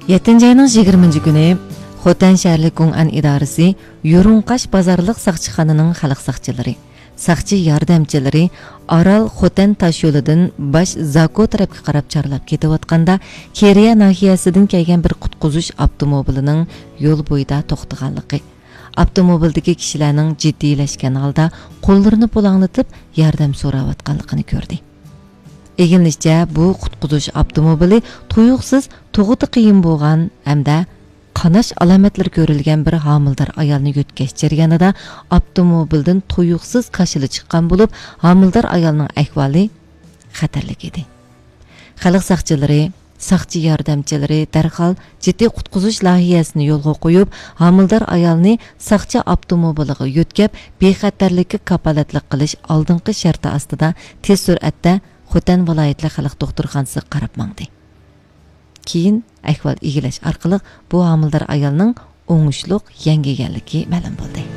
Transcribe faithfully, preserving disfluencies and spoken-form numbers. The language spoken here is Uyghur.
يەتتىنچى ئاينىڭ يىگىرمىنچى كۈنى خوتەن شەھەرلىك گۇڭئەن ئىدارىسى يۇرۇڭقاش بازارلىق ساقچىخانىنىڭ خەلق ساقچىلىرى، ساقچى ياردەمچىلىرى ئارال خوتەن تاشيولىدىن باش زاكو تەرەپكە قاراپ چارلاپ كېتىۋاتقاندا، كېرىيە ناھىيەسىدىن كەلگەن بىر قۇتقۇزۇش ئاپتوموبىلىنىڭ يول بويىدا توختىغانلىقى، ئاپتوموبىلدىكى كىشىلەرنىڭ جىددىيلەشكەن ھالدا قوللىرىنى پۇلاڭلىتىپ ياردەم سوراۋاتقانلىقىنى كۆردى. ئىگىلىنىشىچە، بۇ قۇتقۇزۇش ئاپتوموبىلى تۇيۇقسىز تۇغۇتى قىيىن بولغان ھەمدە قاناش ئالامەتلىرى كۆرۈلگەن بىر ھامىلىدار ئايالنى يۆتكەش جەريانىدا ئاپتوموبىلدىن تۇيۇقسىز كاشىلا چىققان بولۇپ، ھامىلىدار ئايالنىڭ ئەھۋالى خەتەرلىك ئىدى. خەلق ساقچىلىرى، ساقچى ياردەمچىلىرى دەرھال جىددىي قۇتقۇزۇش لايىھەسىنى يولغا قويۇپ، ھامىلىدار ئايالنى ساقچى ئاپتوموبىلىغا يۆتكەپ، بىخەتەرلىككە كاپالەتلىك قىلىش ئالدىنقى شەرتى ئاستىدا تېز سۈرئەتتە خوتەن ۋىلايەتلىك خەلق دوختۇرخانىسىغا قاراپ ماڭدى. كېيىن ئەھۋال ئىگىلەش ئارقىلىق بۇ ھامىلىدار ئايالنىڭ ئوڭۇشلۇق يەڭگىگەنلىكى مەلۇم بولدى.